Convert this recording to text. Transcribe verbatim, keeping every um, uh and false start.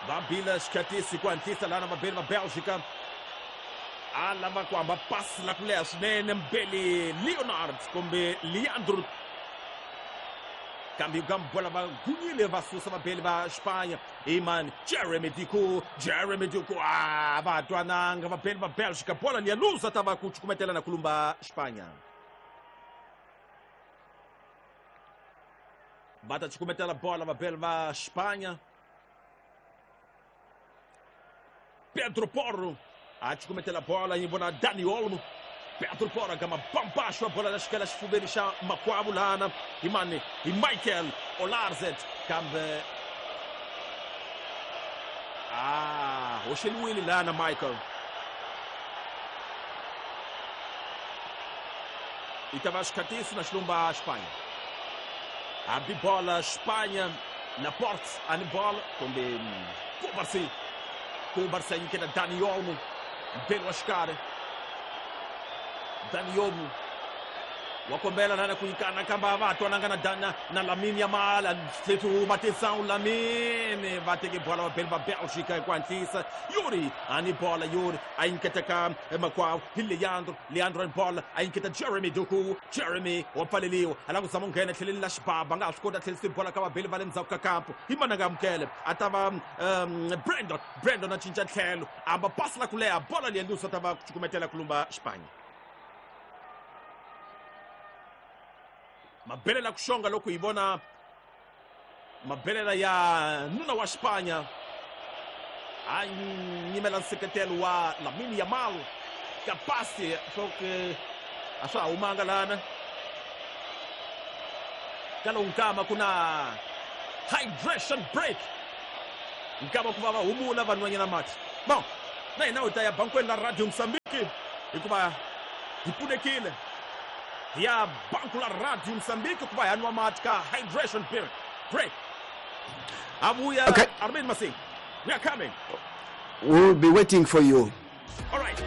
Va bile xikhatisi ku hatlisa lana vabeli va Belgica. A lava ku hamba pasi la ku leha swinene Mbeli Leonard kumbe Leandro. Kambe bola va gunyile va susa vabeli va Espanha. Imani Jeremy Doku, Jeremy Doku, ah, va twananga vabeli va Belgica. Bola liya luza ta va ku cukumetela na kulumba Espanha. Va ta cukumetela bola vabeli va Espanha. Pedro Porro a cukumetela bola yi vona Dani Olmo. Pedro Porro gama bambaxo a bola xikela xifuveni xa makwavo lana imani hi Michael Olarzet kambe ah hoxeliwile lana Michael. I ta va xikhatisi na xilumba Espanha. Hambi bola Espanha Laporte ani bola kumbe Cubarsí. Cubarsí nyiketa Dani Olmo. Mbeli wa xikarhi. Dani Olmo wa kombela lana ku nyikana kambe a va twananga na Dana na Lamine Yamal. Atenção Lamine va teke bola va beli va Belgica hi ku hatlisa. Yuri ani bola Yuri a nyiketa ka makwavo hi Leandro. Leandro ani bola a nyiketa Jeremy Doku. Jeremy wa pfaleliwa a lava ku zama ku nghena tlheleni la xibaba nga ha swi koti a tlhelisi bola ka vabeli va le ndzhaku ka kampo. Hi mananga amukele a ta va um, Brandon. Brandon a cinca tlhelo a hamba pasi la ku leha bola liya lusa ta va ku cukumetela ku lumba Espanha. Mabelela ku xonga loko hi vona mabelela ya nuna wa Espanha a nyimela nseketelo wa Lamine Yamal ka pasi swo a swa ha humanga lana ka lowu nkama ku na hydration break nkama ku va va humula vanhwanyana mati. Bon na hina hi ta ya bankweni la Radio Mozambique hikuva hi pfunekile. Ya banco la Radio Mozambique ku va hi nwa mati ka hydration break. Abuya Okay. Armin Masing, we are coming. We'll be waiting for you. All right.